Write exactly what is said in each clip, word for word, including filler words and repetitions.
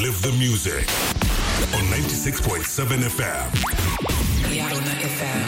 Live the music on ninety-six point seven F M. Yarona F M.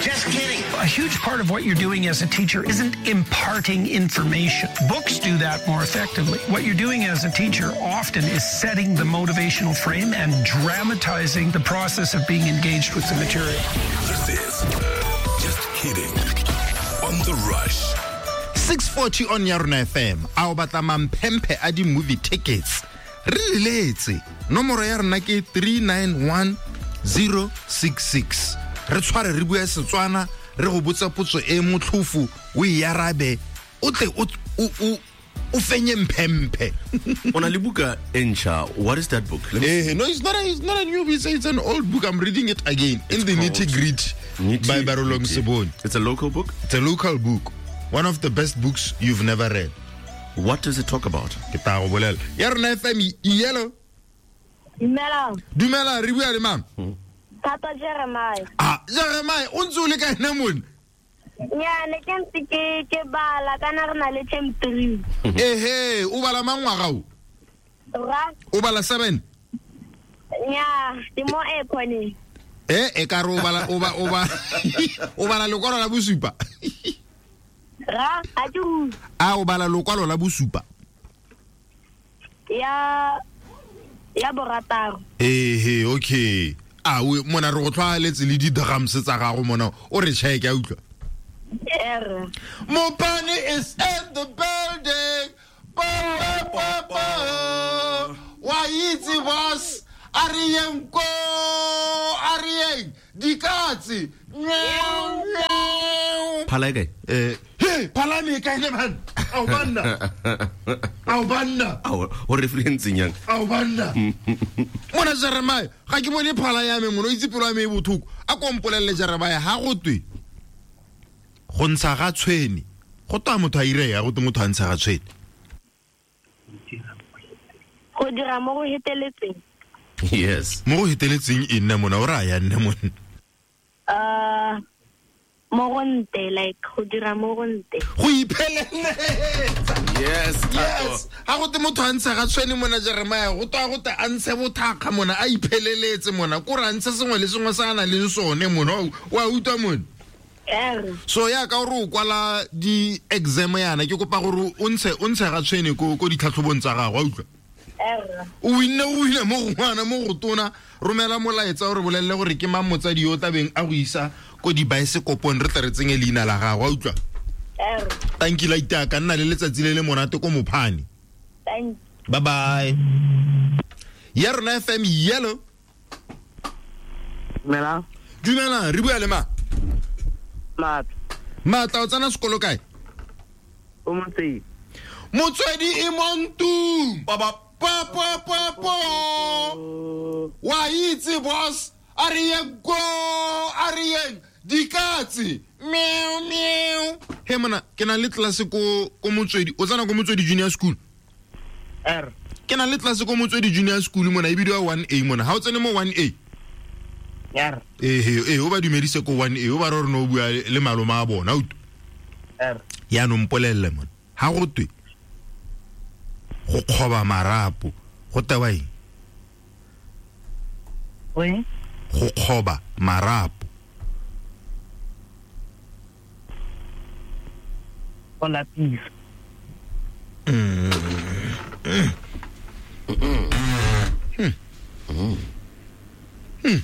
Just kidding. A huge part of what you're doing as a teacher isn't imparting information. Books do that more effectively. What you're doing as a teacher often is setting the motivational frame and dramatizing the process of being engaged with the material. This is Just Kidding on The Rush. six forty on Yarona F M. A o batla mamphemphe a di movie tickets. Re leletse. Nomoro ya rona ke three nine one zero six six. Re tshware re bua Setswana, re go botsa potso e motlhofo, o e arabe, o tle o o o fenye mphemphe. O na le buka e ntšha. What is that book? Let me Eh, no, it's not a, it's not a new book, it's, it's an old book. I'm reading it again. It's In the Nitty Gritty Nitty by Barolong Gritty. Sebone. It's a local book? It's a local book. One of the best books you've never read. What does it talk about? Ke tla go bolela. Ya rona F M, yellow. Dumela. Dumela, re bua le mang? Thata Jeremiah. Ah, Jeremiah, o ntse o le kae nna mone? Nya, ne ke ntse ke, ke bala, kana re na le term three. Ehe, o bala mang ngwaga o? Ra. O bala seven? Nya, ke mo e khone. Eh, e ka re o bala, o ba, o ba, o bala lekwalo la bosupa. Ra, a ke utlwe. A o bala lekwalo la bosupa? Ya, ya borataro. Ehe, okay. A o mona re go tlwaeletse le di-drums tsa gago mona, o re check a utlwa. Er. Mopane is in the building. Ba, ba, ba, ba. Wa itse boss, a re yeng ko, a re yeng dikatse. Meow, meow. Phala e kae? Eh, hey, phala me kae ne man? Ao banna. Ao banna. Ao, o referencing yang? Ao banna. Mona Jeremiah, ga ke bone phala ya me mona, o itse pelo ya me e bothoko. A ko mpolelle Jeremiah, ha go twe go ntsha ga tshwene. Go twa motho a ire ya, go twe motho a ntsha ga tshwene. Go dira mo go heteletseng. Yes. Mo go heteletseng e nne mona, o raya nne mona. Uh, mo go nte, like go dira mo go nte. Go ipheleletsa. Yes, Yes. Ha go te motho a ntsha ga tshwene mona Jeremiah, go twa go te a ntshe bothakga mona, a ipheleletse mona, ko re a ntshe sengwe le sengwe sa a nang le sone mona, o a utlwa mona? Er. So ya ka gore o kwala di-exam yana, ke kopa gore o ntshe, o ntshe ga tshwene ko, ko ditlhatlhobong tsa gago, a utlwa? Er. O winne, o winne mo go ngwana, mo go tona, romela molaetsa o re bolelle gore ke mang motsadi yo o tlabeng a go isa ko dibaesekopong, re tle re tsenye leina la gago, a utlwa? Er. Thank you, Laita, ka nna le letsatsi le le monate ko Mopane. Thank you. Bye bye. Ya rona F M, yellow. Dumela. Dumela, re bua le mang? Matla. Matla, o tsena sekolo kae? O Motswedi. Motswedi e mo ntlong. Ba, ba. Pa, pa, pa, pa. Wa itse boss, a re yeng ko, a re yeng dikatse. Meow, meow. He mona, ke na le tlase ko, ko Motswedi. O tsena ko Motswedi Junior School? Er. Ke na le tlase ko Motswedi Junior School mona, e bidiwa one A mona. Ha o tsene mo one A? Er. Eh, eh, o ba dumedise ko one A, o ba re re no bua le malome a bona, utlwa. Er. Yaanong mpolelle mona. Ha go twe go kgoba marapo, go tewa eng? Oi? Go kgoba marapo. Go lapisa. Mm. Mm. Mm. Mm.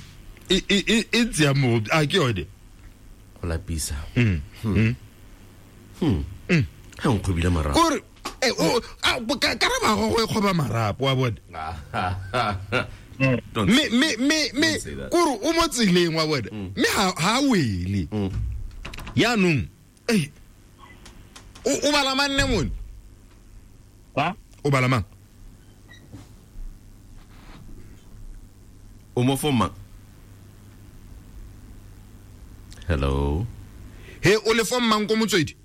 E, e, e, e tseya mo, a ke yone? Go lapisa. Mm. Hmm. Mm. Hmm. Ha o nkgobile marapo. Kore, eh, o, a, bo, ka, karaba go go e kgoba marapo, wa bona. Don't Me, me, me, me, Don't say that. kore o mo tseleng, wa bona. Mm. Mme ha, ha wele. Mm. Yaanong, eh, o, o bala mang nne mone? Ba? O bala mang? O mo form mang? Hello. He, o le form mang ko Motswedi?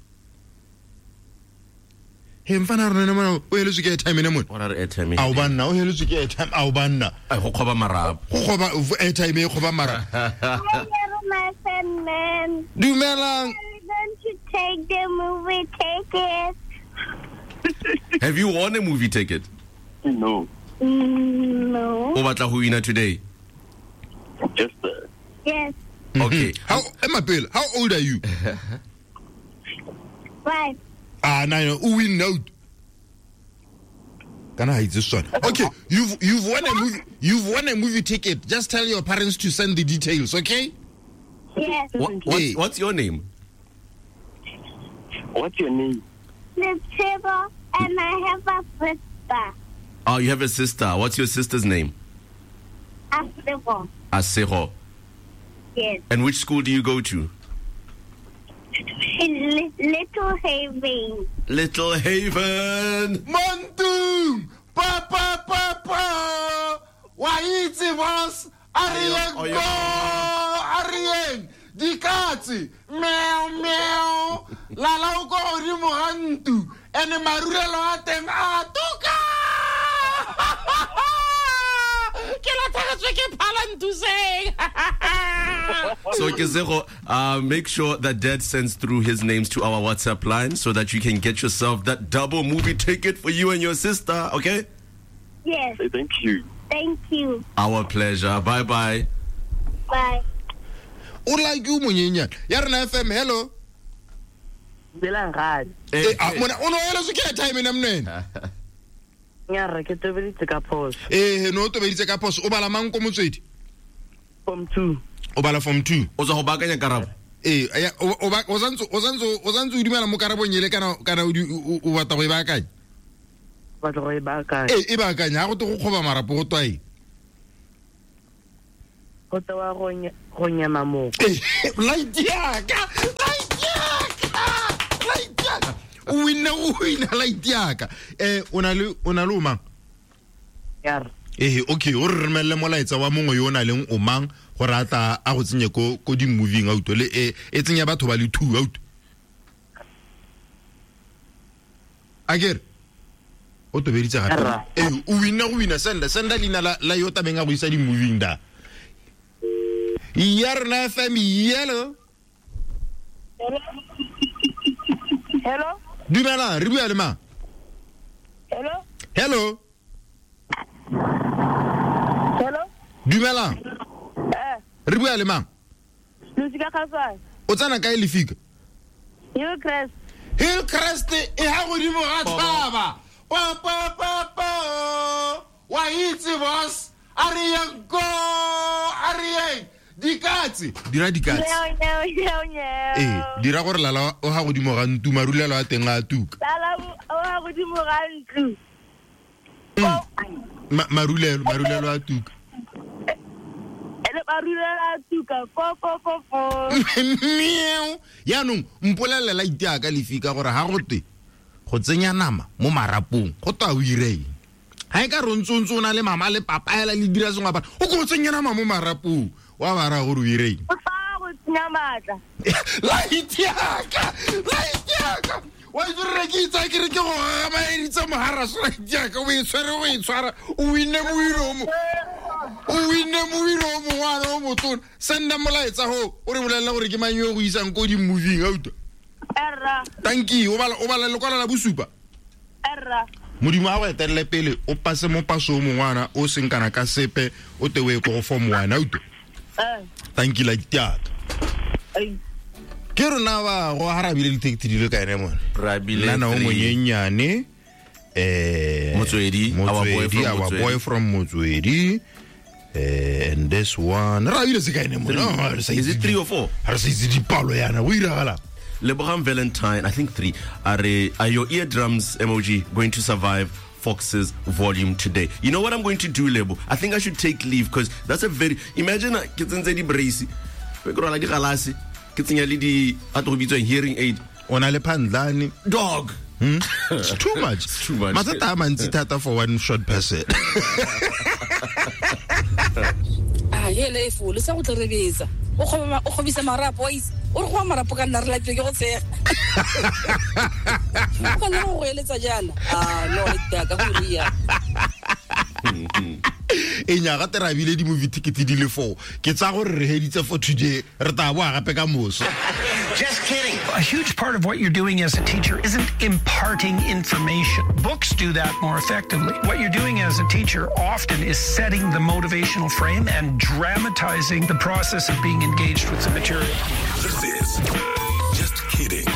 He, mfana rona ne mona, o heletswe ke airtime ne mona? O ra re airtime e Ao banna, o heletswe ke airtime, ao banna. Ai, go kgoba marapo. Go kgoba airtime e kgoba marapo. Hi, my friend, man. Dumelang. We're going to take the movie ticket. Have you won a movie ticket? No. No. O batla go wina today? Yes, sir. Yes. Okay. How, Emma Pele, how old are you? Five. Ah, nine. O win out. Can I hide this one? Okay, you've you've won a movie. You've won a movie ticket. Just tell your parents to send the details, okay? Yes. What, what, Hey. what's your name? What's your name? Letsebo, and I have a sister. Oh, you have a sister. What's your sister's name? Asebo. Asego. Yes. And which school do you go to? In Little Haven. Little Haven. Montum, pa pa pa pa. Wa itse boss, a re yeng Oh, ko, a re yeng. Dikatse, meow meow. Lala o ko godimo ga ntlo, ene marulelo a teng a tuka. Ke latlhegetswe ke phala nthuseng. So Kesego, uh, make sure that Dad sends through his names to our WhatsApp line so that you can get yourself that double movie ticket for you and your sister, okay? Yes. Hey, thank you. Thank you. Our pleasure. Bye-bye. Bye. O like o monyenyane. Ya rena F M, hello. Dumelang gadi. Eh, ah, mona o no eletswe ke airtime ena monene. Nyarra ke tobeditse ka phoso. Eh, no o tobeditse ka phoso. O bala mang ko Motswedi? Form two. O bala form two. O tswa go baakanya karabo. Eh, ya, o o ba o santse o santse o santse o dumela mo karabong ele kana kana o di- o o batla go e baakanya. Batla go e baakanya. Eh, e baakanya ha go te go kgoba marapo go twa eng? Go tewa go nye- go nyema moko. Eh, light yaka, light yaka, light yaka. O winna o wina light yaka. Eh, o na le o na le o mang? Nyarra. Eh, okay, o re romelle molaetsa wa mongwe yo o na leng o mang gore a tla a go tsenye ko ko di-moving auto le e e tsenya batho ba le two auto. Akere o tobeditse gape. Rra. Eh, o winna go wina senda senda leina la la yo tabeng a go isa di-moving da. Ya rena F M yellow. Hello? Dumela, re bua le mang? Hello? Hello. Hello? Dumela. Eh, Re bua le mang? Losika Kgaswane. O tsena kae lefika? Hillcrest. Hillcrest e ha godimo ga thaba. Pa pa pa pa. Wa itse boss, a re yeng ko, a re yeng. Dikatse, dira dikatse. Nyeo, nyeo, nyeo, nyeo. Eh, dira gore lala o ha godimo ga ntlo, marulelo a teng a tuka. Lala o ha godimo ga ntlo. Ma- marulelo, marulelo a tuka. Ene marulelo a tuka. Ko ko ko ko. Meow. Yaanong mpolelele la itea ka lefika gore ha go twe go tsenya nama mo marapong go twa o ire eng? Ha e ka re o ntse o ntse o na le mama le papa hela le dira sengwe apara, o ko o tsenya nama mo marapong wa ba raya gore o ire eng? O fa go tsenya maatla. Light yaka, light yaka. Wa itse re ke itse ke re ke go gagamaditse mogaraso light yaka, o e tshwere o e tshwara, o winne moiro o mo. O winne moiro o mongwana o motona. Senda molaetsa ho o re bolelle gore ke mang yo o go isang ko di-moving auto. Erra, Thank you. O bala o bala lekwalo la bosupa. erra. Modimo a go etelele pele o pase mo paso o mongwana o seng kana ka sepe o te o ye ko go form one auto. Eh. Thank you like that. Ai. Ke rona ba go harabile di-ticket di le ka ene mone. Rabile Nna na o three. monyenyane eh Motswedi, our boy Motswedi, from our Motswedi. boy from Motswedi. Eh, and this one ra bile se ka ene mone. No, re sa Is itse it three di- or four? Ha re sa itse dipalo yana go iragala. Lebogang Valentine, I think three. Are, are your eardrums emoji going to survive Fox's volume today? You know what I'm going to do, Lebo? I think I should take leave because that's a very... Imagine, ke tsentse di brace, ke rwala di galase, ke tsenya le di a tlo go bitswang hearing aid. O na le phandlane. Dog. Hmm? It's too much. It's too much. Mathata a mantsi thata for one short person. Ah, hele e fole sa go tla rebetsa. O kgoba o kgobisa marapo wa itse. O re go marapo ka nna re lapile ke go tshega. O ka nna go eletsa jaana. Ah, no le ka go ria. E nyaga te rabile di movie ticket di le four. Ke tsa gore re heditse for today, re tla boa gape ka moso. Just kidding. A huge part of what you're doing as a teacher isn't imparting information. Books do that more effectively. What you're doing as a teacher often is setting the motivational frame and dramatizing the process of being engaged with the material. This is Just Kidding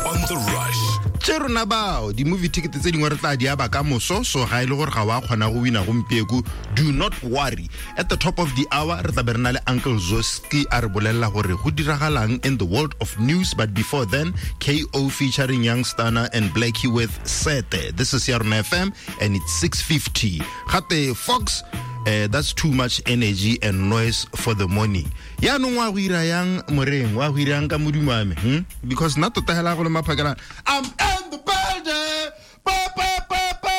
on The Rush. Tse rona bao di-movie ticket tse dingwe re tla di aba ka moso, so ga e le gore ga wa kgona go wina gompieko, do not worry. At the top of the hour re tla be re na le Uncle Zoski a re bolelela gore go diragalang in the world of news. But before then, K O featuring Young Stunner and Blackie with Sete. This is Yarona F M and it's six fifty. Gate Fox, Uh, that's too much energy and noise for the morning. Yaanong wa go ira yang moreng, wa go ira yang ka modumo wa me, hmm? Because nna tota hela go le maphakela, I'm in the building. Pa, pa, pa, pa.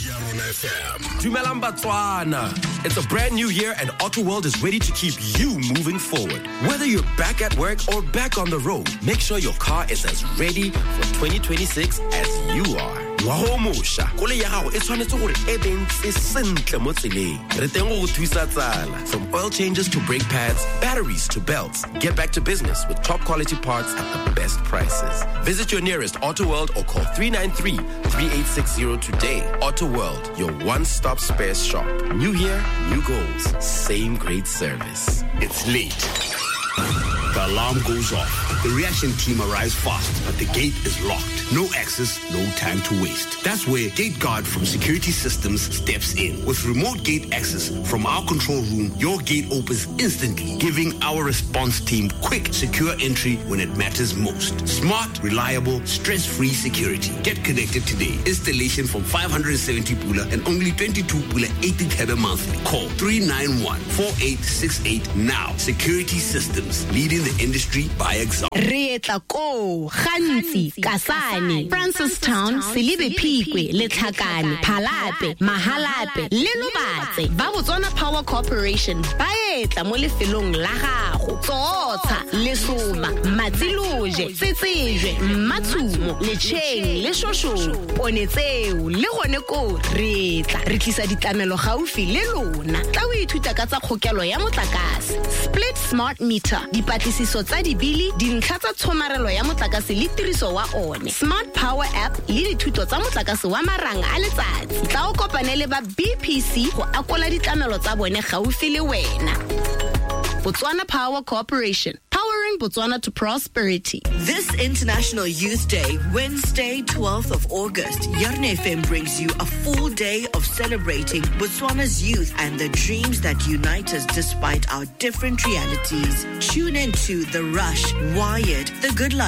Yarona F M. Dumelang Batswana. It's a brand new year and Auto World is ready to keep you moving forward. Whether you're back at work or back on the road, make sure your car is as ready for twenty twenty-six as you are. Ngwaga o mošwa, koloi ya gago e tshwanetse gore e be ntse sentle mo tseleng. Re teng go go thusa tsala. From oil changes to brake pads, batteries to belts, get back to business with top quality parts at the best prices. Visit your nearest Auto World or call three nine three, three eight six zero today. Auto World, your one-stop spares shop. New year, new goals, same great service. It's late. The alarm goes off. The reaction team arrives fast, but the gate is locked. No access, no time to waste. That's where Gate Guard from Security Systems steps in. With remote gate access from our control room, your gate opens instantly, giving our response team quick, secure entry when it matters most. Smart, reliable, stress-free security. Get connected today. Installation from five hundred seventy pula and only twenty-two pula eighty thebe monthly. Call three nine one, four eight six eight now. Security Systems, leading the industry by example. Re etla ko Gantsi, Kasane, Francistown, Selibe Phikwe, Letlhakane, Phalape, Mahalape le Lobatse. Ba Botswana Power Corporation ba etla mo lefelong la gago. Tsotsa, Lesoma, Matsiloje, Tsetsejwe, Mmatshumo, Lecheng le Shoshong, Ponetseo le gone ko re tla. Re tlisa ditlamelo gaufi le lona. Tla o ithuta ka tsa kgokelo ya motlakase, split smart meter, dipatlisiso tsa dibili, dintlha tsa tshomarelo ya motlakase le tiriso wa one, smart power app le dithuto tsa motlakase wa marang a letsatsi. Tla o kopane le ba B P C go akola ditlamelo tsa bone gaufi le wena. Botswana Power Corporation, powering Botswana to prosperity. This International Youth Day, Wednesday, twelfth of August, Yarona F M brings you a full day of celebrating Botswana's youth and the dreams that unite us despite our different realities. Tune in to The Rush, Wired, The Good Life,